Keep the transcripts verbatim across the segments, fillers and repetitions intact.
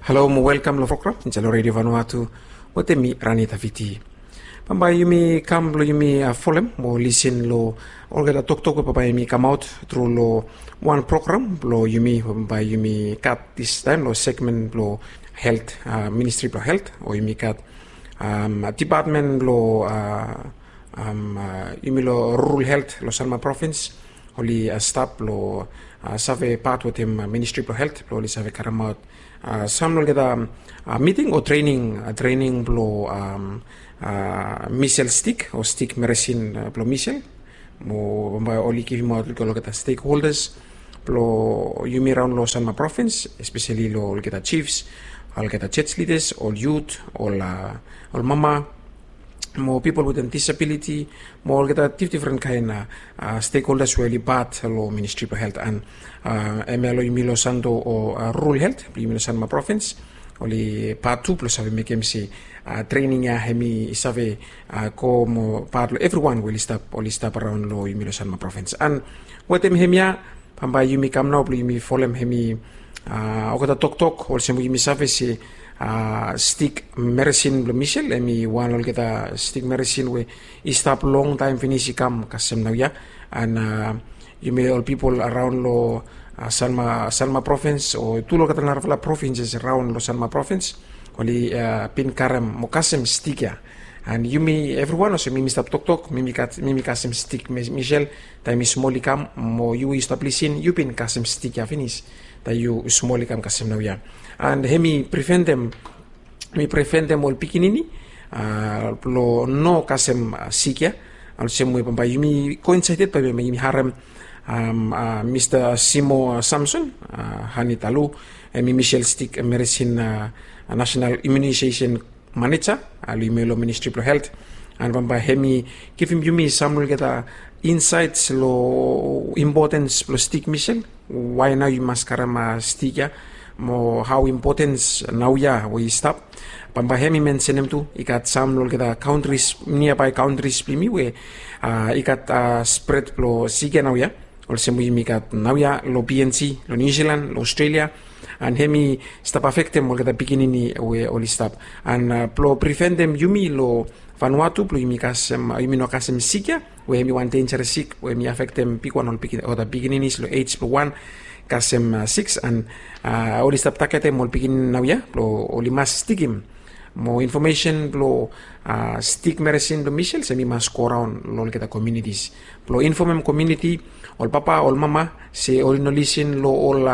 Halo mo welkam long program insait long Redio Vanuatu wetem mi, Rani Tafiti. Bambae yumi kam blong yumi folem mo lisin long olgeta toktok we bambae yumi kamaot tru long wan program blong yumi we bambae yumi gat distaem long segmen blong helt, Ministri blong Helt, o yumi gat dipatmen blong yumi long rural helt long Sanma Provins, oli stap long save pat wetem Ministri blong Helt blong oli save karemaot sam long olgeta miting o trening, trening blong misel stik o stik meresin blong misel. Mo bambae oli givimaot long olgeta stekholdas blong yumi raon long Sanma Provins, espeseli long olgeta jifs, olgeta joj lidas, ol yut, ol mama, mo pipol wetem disabiliti, mo olgeta difdifren kaen stekholdas we oli pat long Ministri blong Helt. An hemia long yumi long Santo o rural helt blong yumi long Sanma Provins, oli pat tu blong save mekem se trening ya hemi save go mo pat long evriwan we oli stap, oli stap raon long yumi long Sanma Provins. An wetem hemia bambae yumi kam nao blong yumi folem hemi olgeta toktok olsem we yumi save se stik meresin blong misel hemi wan long olgeta stik meresin we i stap longtaem finis i kam kasem naoia. An yumi ol pipol araon long Sanma, Sanma Provins o tu long olgeta narafala provinses raon long Sanma Provins, oli bin karem mo kasem stik ya. An yumi evriwan olsem mi mi stap toktok, mi mi kasem stik misel taem mi smol i kam, mo yu we yu stap lisin yu bin kasem stik ya finis taem yu smol i kam kasem naoia. An hemi preventem, mi preventem ol pikinini blong no kasem sik ya. Olsem we bambae yumi koinsaeted bae yumi harem Mista Simo Samson Hanitalu, hemi misel stik meresin, National Immunization Manager long yumi long Ministri blong Helt. An bambae hemi givim yumi sam long olgeta insaets long impotens blong stik misel, wae nao yu mas karem stik ya, mo hao impotens naoia we i stap. Bambae hemi mensenem tu i gat sam long olgeta kaontris, niabae kaontris blong yumi we i gat spred blong sik ya naoia, olsem we yumi gat naoia long PNG, long Niu Silan, long Aostralia. An hemi stap afektem olgeta pikinini we oli stap. An blong preventem yumi long Vanuatu blong yumi kasem, yumi no kasem sik ya we hemi wan denjeres sik we hemi afektem bigwan ol pikin, olgeta pikininis long ej blong wan kasem siks. An oli stap tagetem ol pikinini naoia blong oli mas stikim mo infomesen blong stik meresin blong misel se hemi mas go raon long olgeta komiunitis blong infomem komiuniti, ol papa, ol mama, se oli no lisin long ol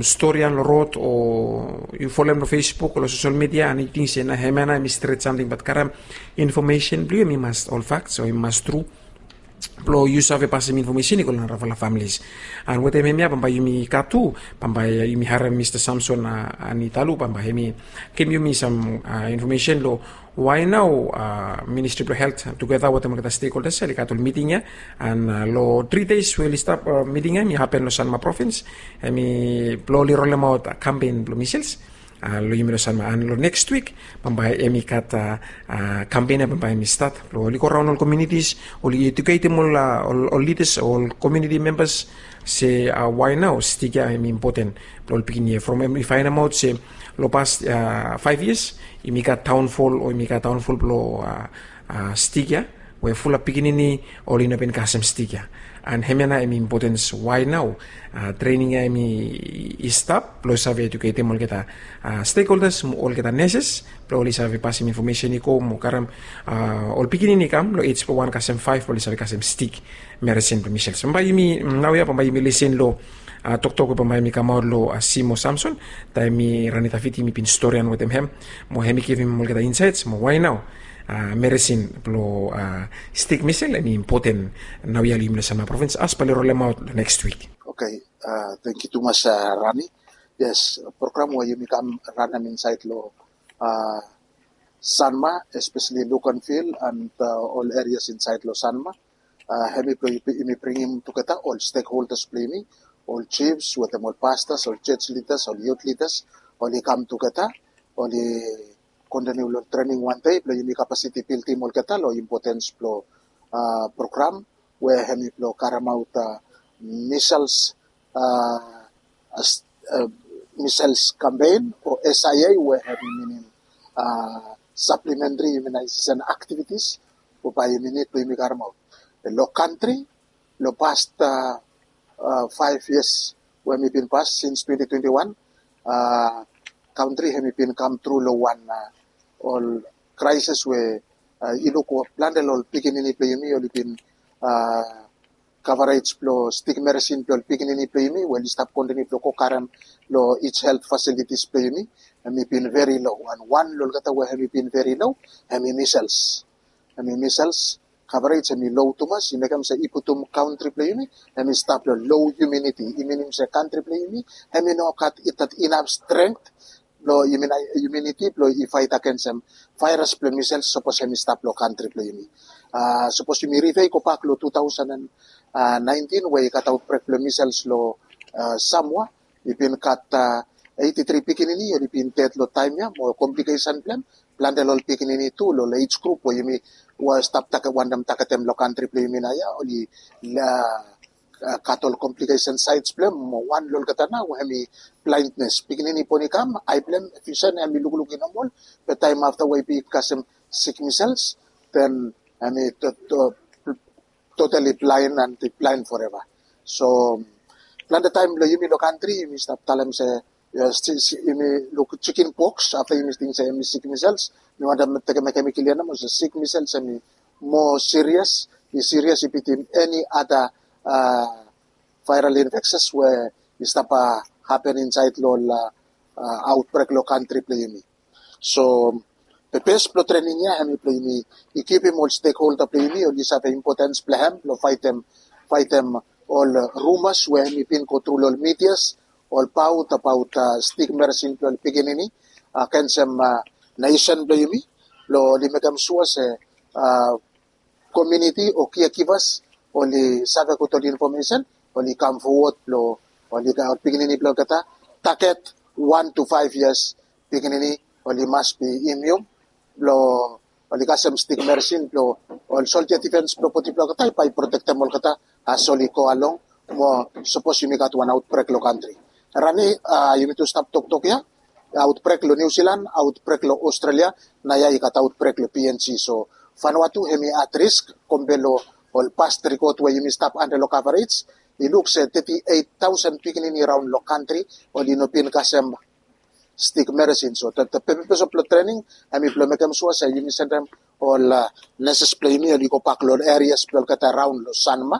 stori ya long rod, o yu folem long Facebook o long sosel midia an yu ting se nao hemia nao hemi stret samting, bat karem infomesen blong yu hemi mas ol faks o hemi mas tru blong yu save pasem infomesen i go long narafala familis. An wetem hemia bambae yumi gat tu, bambae yumi harem Mista Samson Hanitalu, bambae hemi givim yumi sam infomesen long wae nao Ministri blong Helt tugeta wetem olgeta stekholdas oli gat ol miting ya. An long tri des we oli stap, miting ya hemi hapen long Sanma Provins, hemi blong oli rolemaot kampen blong misels long yumi long Sanma. An long neks wik bambae hemi gat kampen ya bambae hemi stat blong oli go raon ol komiunitis, oli ejuketem ol, ol lidas, ol komiuniti membas se wae nao stik ya hemi impoten blong ol pikinini ya. From hemi faenemaot se long pas faef yias yumi gat daonfol, o yumi gat daonfol blong stik ya we fulap pikinini oli no bin kasem stik ya. An hemia nao hemi impotens wae nao trening ya hemi i stap blong save ejuketem olgeta stekholdas mo olgeta neses blong oli save pasem infomesen i go mo karem ol pikinini i kam long ej blong wan kasem faef blong oli save kasem stik meresin blong misels. Bambae yumi naoia bambae yumi lisin long toktok we bambae hemi kamaot long Simo Samson taem mi, Rani Tafiti, mi bin storian wetem hem, mo hemi givim olgeta insaets mo wae nao meresin blong stik misel hemi impoten naoia long yumi long Sanma Provins as bae oli rolemaot long neks wik. Oke, tangkiu tumas Rani. Yes, program we yumi kam ranem insaed long Sanma, espeseli Luganville an ol erias insaed long Sanma, hemi blong yumi bringim tugeta ol stekholdas blong yumi, ol jifs wetem ol pastas, ol joj lidas, ol yut lidas, oli kam tugeta, oli kontiniu long trening wan dei blong yumi kapasiti bildim olgeta long impotens blong program we hemi blong karemaot misels, measles campaign o S I A, we hemi minim, uh, supplementary immunization activities we bae yumi nid blong yumi karemaot. Long kantri, long past, uh, uh, five years we hemi bin pas since twenty twenty-one, uh, kantri hemi bin kam tru long wan, uh, ol crisis we, uh, i luk plante long ol pikinini blong yumi oli bin, uh, coverage blong stick medicine blong ol pikinini blong yumi we oli stap kontiniu blong go karem long each health facilities blong yumi, hemi bin very low. And wan long olgeta we hemi bin very low, hemi measles. Hemi measles coverage hemi low tumas, i mekem se i putum kantri blong yumi hemi stap long low immunity. I minim se kantri blong yumi hemi no gat that enough strength blong immunity blong i fight against em virus blong measles sapos hemi stap long kantri blong yumi. Uh, sapos yumi review gobak long two thousand and nineteen we i gat outbreak blong measles long, uh, Samoa, i bin gat, uh, eighty-three pikinini oli bin ded long taem ia, mo complication blong hem, plante long ol pikinini tu long age group we yumi, we stap target, wantem targetem long kantri blong yumi naoia, oli, uh, uh, gat ol complication sides blong hem, mo wan long olgeta nao we hemi blindness. Pikinini boni kam, ae blong hem, vision hemi lukluk i normal, be taem afta we i bin kasem sick measles, then hemi to, to, totally blind and blind forever. So plante taem long yumi long kantri, yumi stap talem se, uh, yumi luk chicken pox, afta yumi ting se hemi sick measles, mi wantem mekem, mekem i klia nomo se sick measles hemi more serious, i serious i bitim any other, uh, viral infections we i stap, uh, happen insaed long, uh, uh, outbreak long kantri blong yumi. So purpose blong training ia hemi blong yumi equipim ol stakeholder blong yumi oli save importance blong hem blong fightem, fightem ol, uh, rumors we hemi bin go tru long ol medias, ol baot, abaot, uh, stick medicine blong ol pikinini, uh, against, uh, nation blong yumi, blong oli mekem sua se, uh, community o caregivers oli save gud ol information, oli kam forward blong oli, ol pikinini blong olgeta target one to five years pikinini oli mas be immune blong oli kasem stick medicine blong ol soldier defense blong bodi blong olgeta bae i protektem olgeta as oli go along, mo sapos yumi gat wan outbreak long kantri. Rani, uh, yumi tu stap toktok ia, outbreak long New Zealand, outbreak long Australia, naoia i gat outbreak long P N G. So Vanuatu hemi at risk compare long ol past record we yumi stap under long coverage, i luk se thirty-eight thousand pikinini raon long kantri oli no bin kasem stick medicine. So the, the purpose of the training hemi blong mekem sua se yumi sendem ol, uh, nurses blong yumi oli gobak long areas blong olgeta raon long Sanma,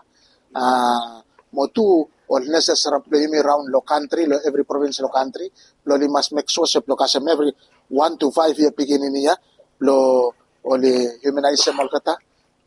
uh, mo tu ol nurses blong yumi raon long kantri, long every province long kantri, blong oli mas make sure se blong kasem every one to five year pikinini ia, blong oli immunize hem olgeta,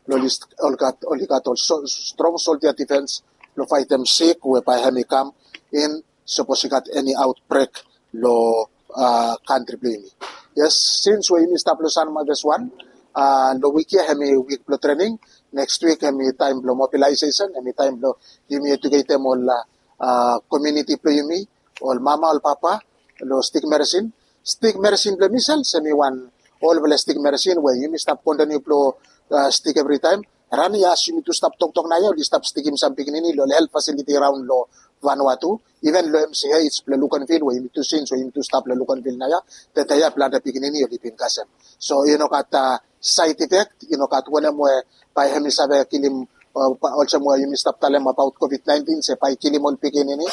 blong oli gat, oli gat ol strong soldier defense blong fightem sick we bae hemi kam in, sapos i gat any outbreak long, uh, kantri blong yumi. Yes, since we yumi stap long Sanma phase one, uh, long wik ia hemi wik blong training, next week hemi taem blong mobilization, hemi taem blong yumi educatem ol, uh, uh, community blong yumi, ol mama, ol papa, long stick medicine. Stick medicine blong measles hemi wan olfala stick medicine we yumi stap kontiniu blong, uh, stick every taem. Rani ia as yumi tu stap toktok naoia oli stap stikim sam pikinini long health facility raon long Vanuatu, even long M C H blong Luganville we yumi tu since we yumi tu stap long Luganville naoia, tede ia plante pikinini oli bin kasem. So i no gat, uh, side effect, i no gat wanem we bae hemi save kilim, uh, olsem we yumi stap talem abaot COVID nineteen se bae i kilim ol pikinini,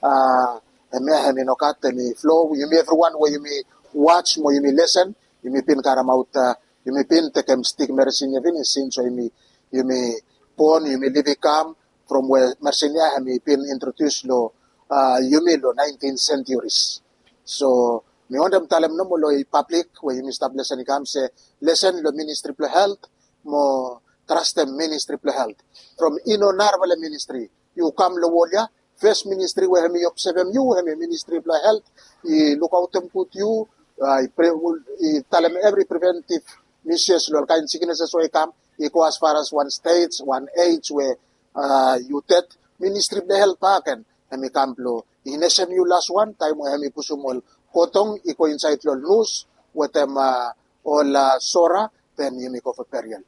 uh, hemia hemi no gat, hemi flow, yumi evriwan we yumi watch mo yumi lesen, yumi bin karemaot, uh, yumi bin tekem stick medicine ia finis since we yumi, yumi born, yumi liv i kam from we medicine ia hemi bin introduce long, uh, yumi long nineteen centuries. So mi wantem talem nomo long i public we yumi stap lesen i kam se lesen long ministry blong health mo trastem ministry blong health. From i no narafala ministry, yu kam long wol ia, first ministry we hemi obsevem yu hemi ministry blong health, i lukaotem gud yu, uh, i talem evri preventive measures long ol kaen sicknesses we i kam, i go as far as wan stage, wan age we, uh, yu ded, ministry blong health bakegen hemi kam blong i nesem yu las wan taem we hemi pusum ol kotong i go insaed long ol nus wetem, uh, ol, uh, sora, then yumi go for burial.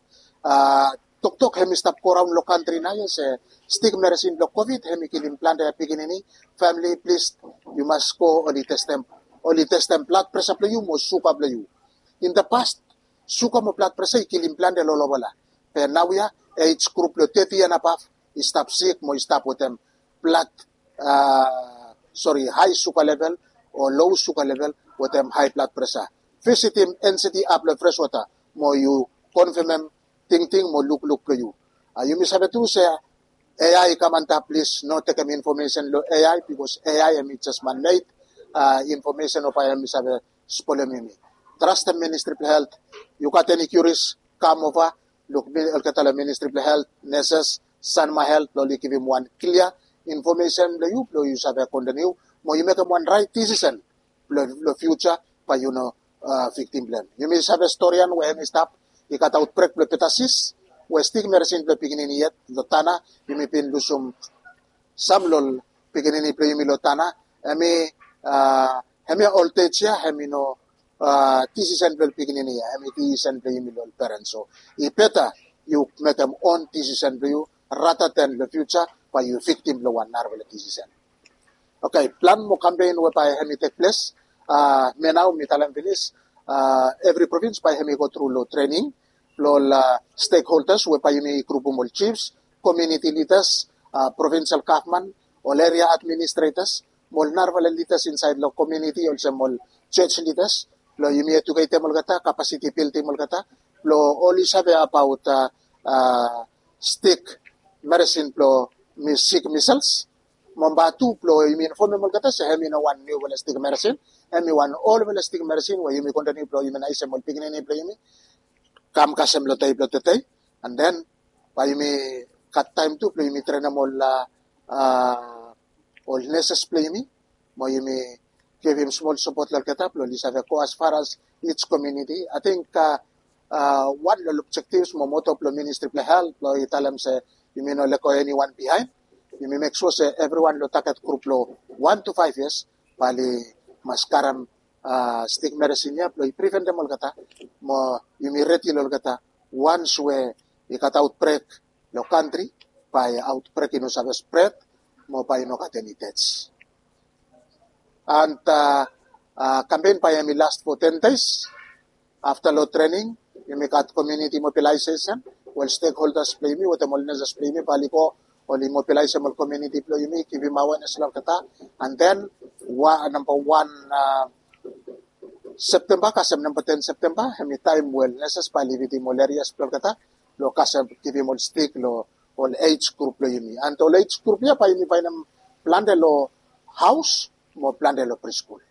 Uh, toktok hemi stap go raon long kantri nao ia se stik meresin blong covid hemi kilim plante pikinini. Famili, plis, yu mas go oli testem, oli testem blad presa blong yu mo suga blong yu. In the past, suga mo blad presa i kilim plante long olgeta. Be nao ia age group blong thirty and above i stap sik mo i stap wetem blad, sori, hae suga level o loe suga level wetem hae blad presa. Visitim NCD app long Freshwater mo yu konfemem tingting mo lukluk blong yu. Yumi save tru se AI i kam antap, plis no tekem infomesen long AI, bikos AI hemi jes manmed infomesen we bae hemi save spolem yumi. Trastem Ministri blong Helt. Yu gat eni kiuris, kam ova, luk olgeta long Ministri blong Helt, neses, Sanma Helt blong oli givim wan klia infomesen blong yu blong yu save kontiniu mo yu mekem wan raet disisen blong fiuja bae yu no viktim blong hem. Yumi save storian we hemi stap, i gat aotbrek blong pertusis we stik meresin blong pikinini yet long Tanna, yumi bin lusum sam long ol pikinini blong yumi long Tanna. Hemi, hemia ol dej ia hemi no disisen blong ol pikinini ia, hemi disisen blong yumi long ol perens. So i beta yu mekem on disisen blong yu rata den long fiuja bae yu viktim long wan narafala disisen. Oke, plan mo kampen we bae hemi tek ples, mi nao mi talem finis, evri provins bae hemi go tru long trening blong ol stekholdas we bae yumi grupum ol jifs, komuniti lidas, provinsel gavman, ol eria administretas mo ol narafala lidas insaed long komuniti olsem ol jos lidas blong yumi eduketem olgeta, kapasiti bildim olgeta blong oli save abaot stik meresin blong sik misels. Mo namba tu blong yumi infomem olgeta se hemi no wan niufala stik meresin, hemi wan olfala stik meresin we yumi kontiniu blong imunaesem ol pikinini blong yumi kam kasem long dei blong tede. An den bae yumi gat taem tu blong yumi trenem ol ol neses blong yumi mo yumi givim smol sapot long olgeta blong oli save go as far as each community. Ating wan long ol objektivs mo moto blong Ministri blong Helt blong i talem se yumi no lego eniwan bihaen. Yumi mek sua se evriwan long taget grup blong wan tu faef yias bae oli mas karem stik meresin ia blong i priventem olgeta mo yumi redi long olgeta wans we i gat aotbrek long kantri bae aotbrek i no save spred mo bae i no gat eni dej. An kampen bae hemi las fo ten dei. Afta long trening yumi gat komuniti mobilaesesen we ol stekholdas blong yumi wetem ol neses blong yumi bae oli go oli mobilaesem ol komuniti blong yumi, givim awenes long olgeta. An den namba wan Septemba kasem namba ten Septemba hemi taem we ol neses bae oli vitim ol erias blong olgeta blong kasem givim ol stik long ol ej grup blong yumi. An ol ej grup ia bae yumi faenem plante long haos mo plante long priskul.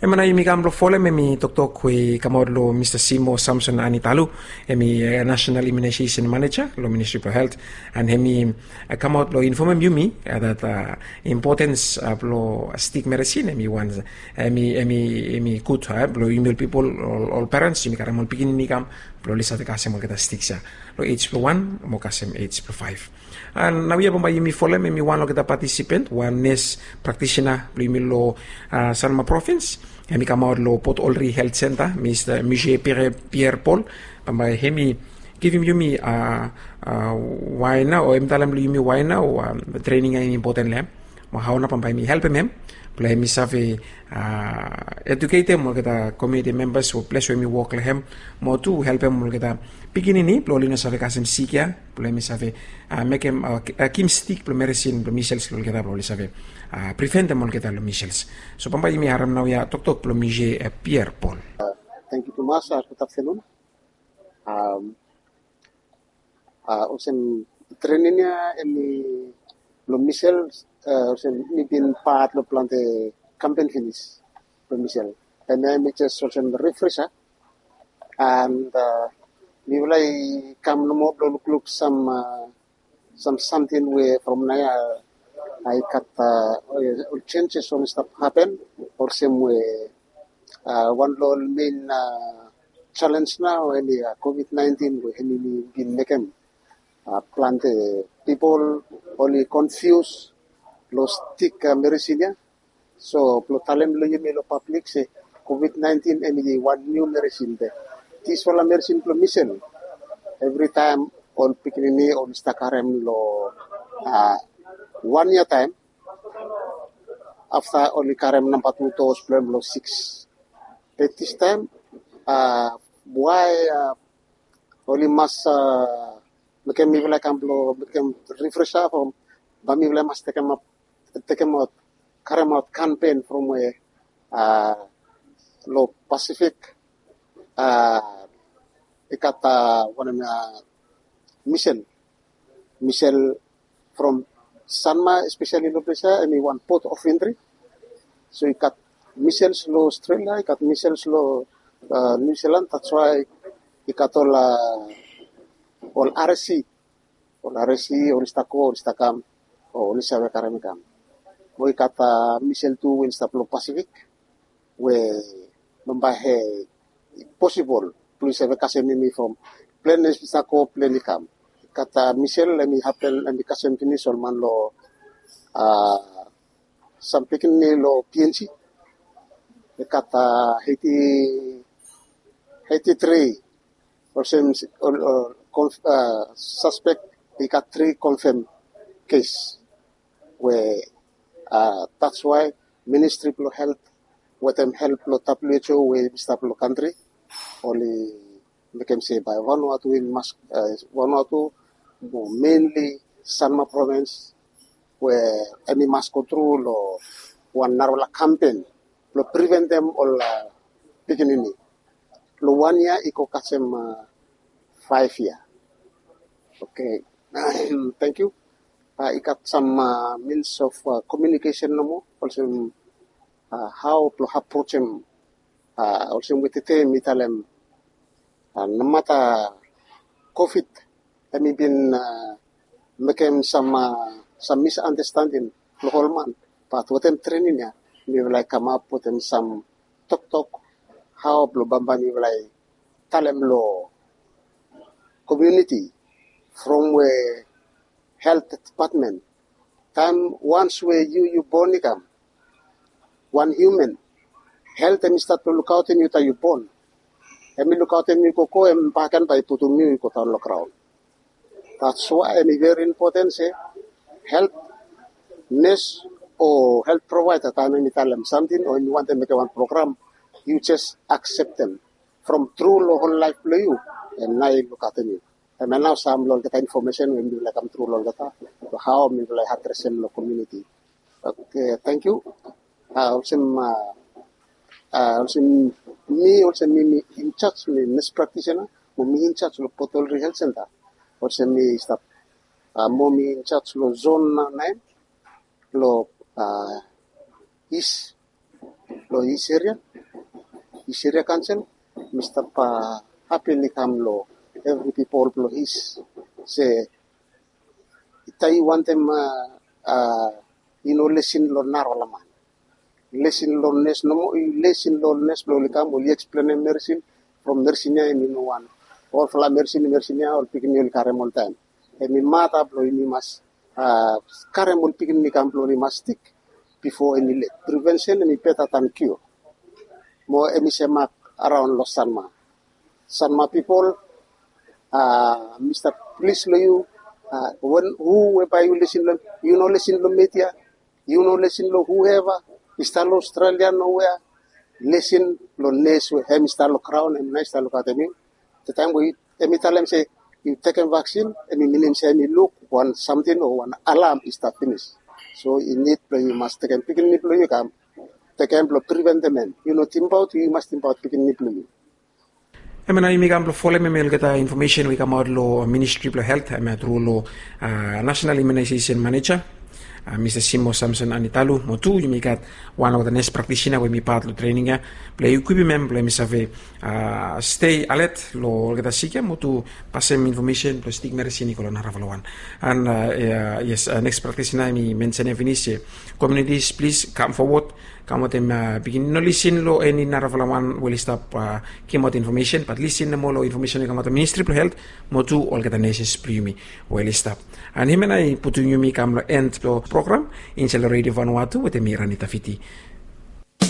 Hemia nao yumi kam blong folem hemi toktok we i kamaot long Mista Simo Samson Anitalu, hemi Nasenal Imunaesesen Maneja long Ministri blong Helt. An hemi kamaot blong infomem yumi dat impotens blong stik meresin hemi wan, hemi, hemi gud blong yumi ol pipol, ol perens, yumi karem ol pikinini i kam blong oli save kasem olgeta stik ia long ej blong wan mo kasem ej blong faef. An naoia bambae yumi folem hemi wan long olgeta patisipen, wan nes praktisena blong yumi long Sanma provins. Hemi kamaot long Port Olri Helt Senta, Mista Mije Pierre Paul. Bambae hemi givim yumi wae nao o hemi talem long yumi wae nao trening ia i impoten long hem mo hao nao bambae hemi helpem hem blong hemi save eduketem olgeta komuniti membas o ples we hemi wok long hem, mo tu helpem olgeta pikinini blong oli no save kasem sik ia blong hemi save mekem, givim stik blong meresin blong misels long olgeta blong oli save priventem olgeta long misels. So bambae yumi harem naoia toktok blong Mije Pierre Paul. Tangkiu tumas. Gud aftenun. Olsem trening ia hemi blong misels, olsem mi bin pat long plante kampen finis blong misel. Hemia hemi jes olsem rifresa. An mifala i kam nomo blong lukluk sam sam samting we from naoia i gat ol jenjes oli stap hapen, olsem we wan long ol mein jalenj nao hemi covid nineteen we hemi bin mekem plante pipol oli konfius long stik meresin ia. So blong talem long yumi long pablik se covid nineteen hemi wan niu meresin, be disfala meresin blong misel evritaem Ol pikinini oli stap karem long wan yia taem. Afta oli karem namba tu dos blong hem long siks. Be distaem wae oli mas mekem mifala i kam blong mekem rifresa from bae mifala i mas tekem ap tekemaot karemaot kampen from we long Pasifik i gat wanem misel misel from Sanma espeseli long ples ya em i wan port of entry. So i gat misels long Australia, i gat misels long New Zealand, that's why i gat ol ol R S C ol R S C oli stap go oli stap kam o oli save karem i kam. Mo i gat misel tu we oli stap long Pasifik we bambae he posibol blong i save kasem yumi from plen i stap go plen i kam. I gat misel em i hapen em i kasem finis ol man long sam pikinini long P N G. I gat heiti heiti tri olsem suspek i gat tri konfem kes we that's why Ministri blong Helt wetem help blong W H O we i stap long kantri oli mekem se bae Vanuatu i mas Vanuatu mo menli Sanma provens we em i mas go tru long wan narafala kampen blong priventem ol pikinini long wan yia i go kasem faef yia. Oke, tangkiu. I gat sam means of komiunikesen nomo olsem hao blong aprojem olsem we tede mi talem nomata covid em i bin mekem sam sam misandastending long ol man, bat wetem trening ya mifala i kamap wetem sam toktok hao blong bambae mifala i talem long komiuniti from we helt depatmen taem wans we yu yu bon i kam wan hiuman. Helt em i stat blong lukaotem yu taem yu bon. Em i lukaotem yu i go go em baken bae i putum yu i go daon long graon. That's why em i veri impoten se helt nes o helt provaeda taem em i talem samting o em i wantem mekem wan program yu jes akseptem from tru long hol laef blong yu. Em nao i lukaotem yu. Em ya nao sam long olgeta infomesen we mifala i kam tru long olgeta long hao mifala i adresem long komiuniti. Oke, tangkiu. Olsem olsem mi olsem mi mi injaj mi nes praktisena mo mi injaj long Potolri Helt Senta. Olsem mi stap mo mi injaj long zon naen long is long is eria is eria kansel. Mi stap hapili kam long evri pipol blong is se taem yu wantem i no lesin long narafala man. Lesin long nes nomo i lesin long nes blong oli kam oli eksplenem meresin from meresin ya em i no wan olfala meresin meresin ya ol pikinini oli karem oltaem. Em i mata blong yumi mas karem ol pikinini kam blong oli mas stik bifo em i let. Privensen em i beta dan kio. Mo em i semak araon long Sanma Sanma pipol. Mi stap plis long yu wen hu we bae yu lesin long yu no lesin long media. Yu no lesin long hueva i stap long Australia nowea. Lesin long nes we hem i stap long graon hem nao i stap lukaotem yu. Taem we hem i talem se yu tekem vaksin hem i minim se hem i luk wan samting o wan alam i stap finis. So i nid blong yu mas tekem pikinini blong yu kam tekem blong priventem hem. Yu no tingbaot yu mas tingbaot pikinini blong yu. Hemia nao yumi kam blong folem hemia olgeta infomesen we i kamaot long ministri blong helt hemia tru long nasenal imunaisesen maneja mista simo samson anitalu mo tu yumi gat wan olgeta nes praktisina we mi pat long trening ya blong i ekwipim hem blong hem i save stei alet long olgeta sik ya mo tu pasem infomesen blong stik meresin i go long narafala wan. An yes neks praktisina mi mensenem finis ya komiunitis plis kam fowod kam wetem pikinini no lisin long eni narafala wan we oli stap gimaot infomesen bat lisin nomo long infomesen we i kamaot long ministri blong helt mo tu olgeta neses blong yumi we oli stap. An hemia nao i putum yumi kam long en blong program insaed long redio vanua tu wetem mi rani tafiti.